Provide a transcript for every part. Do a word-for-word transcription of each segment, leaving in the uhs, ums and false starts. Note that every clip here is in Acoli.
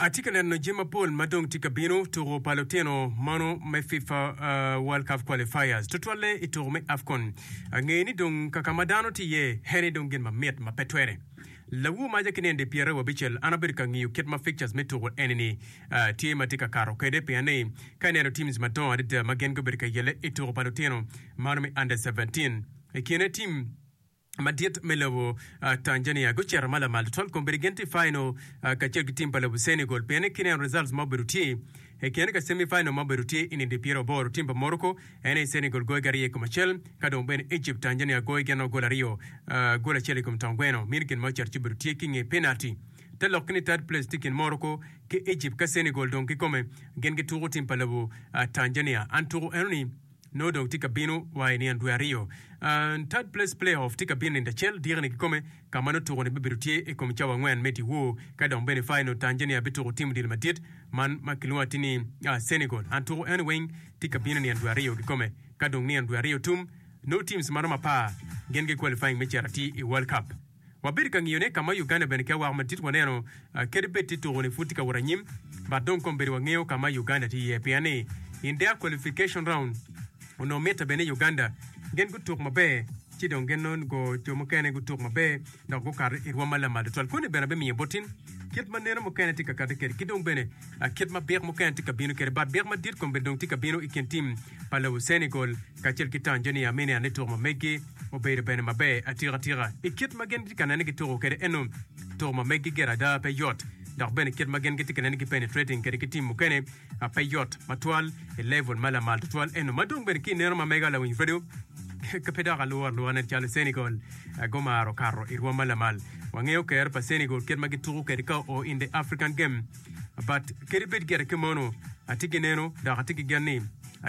Atye ka neno jami mapol ma dong tye ka bino tuko pa lutino mano me FIFA World Cup Qualifiers tutwalle i tuko me AFCON. Angeyo ni dong kaka ma dano tye iye eni dong gin mamit ma pe twere. Lawur maca ki nino pyeraryo abicel an abedo ka ngiyo kit ma fixtures me tuko eni-ni tye ma tye ka kato kwede pien ni ka ineno teams madongo adada ma gin gubedo ka yelle i tuko pa lutino mano me under seventeen i kine team madit me lobo Tanzania gucito ma lamal tutwal kombeddi gin tye i final kacel ki tim pa lobo Senegal pien ni kineno results ma obedo tye i kine ka semi final ma obedo tye i nino pyeraryo aboro tim pa Morocco en aye Senegal goyogi aryo i kom acel ka dong bene Egypt Tanzania goyo gin gol aryo gol acel i kom tong gweno mino gin ma ocito ci obedo tye ki nge penalty te lok ni third place tye i kin Morocco ki Egypt ka Senegal dong kikome gin gituko tim pa lobo Tanzania an tuko enoni nongo dong tye ka bino wa i nino dwe aryo. Third place play-off tye ka bino nino acel diki-ni kikome ka ma nongo tuko-ni bibedo tye i kom cawa angwen me dyewor ka dong bene final Tanzania bituko tim odilo madit man ma kilwongo atir ni Senegal. An tuko eno weng tye ka bino nino dwe aryo kikome ka dong nino dwe aryo tum nongo teams ma romo apar gin gi qualifying me cito atir i World Cup. Wabedo ka ngiyone ka ma Uganda bene ki awaka madit waneno kadi bed tye tuko ni pud tye ka wot anyim but dong kombeddi wangeyo ka ma Uganda tye iye pien ni in their qualification round onongo mitte bene ni Uganda gin gutuk maber ci dong gin nongo jo mukene gutuk maber dok gukato i rwom ma lamal tutwal. Koni bene abimiyo botin kit ma neno mukene tye ka kati kwede ki dong bene kit ma byek mukene tye ka bino kwede but byek madit kombeddi dong tye ka bino i kin tim pa lobo Senegal kacel ki Tanzania me neno ni tuko ma meggi obedo bene maber atika tika i kit ma gin gitye ka nene gituko kwede eno tuko ma meggi gire ada pe yot dok bene kit ma gin gitye ka nene gi penetrating kwede ki tim mukene pe yot matwal i level ma lamal tutwal eno ma dong bene ki ineno ma mega lawiny radio pe dok alwor alwora nen calo Senegal gumaro kato i rwom ma lamal wangeyo kero pa Senegal kit ma gituko kwede ka oo in the African game but kadi bed gire ki mono atye ki neno dok atye ki gen ni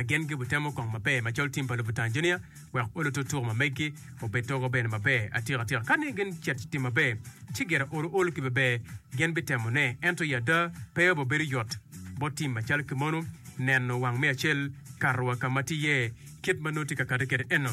gin gibitemo kong maber macalo tim pa lobo Tanzania wek olo to tuko ma meggi obed togo bene maber atika tika. Ka ni gin cet tim maber, ci gire olo olo ki beber gin bitemone. Ento i ada, pe obibedo yot bot tim macalo kimono neno wang me acel kato wa ka ma tye iye kit ma nongo tye ka kati kwede eno.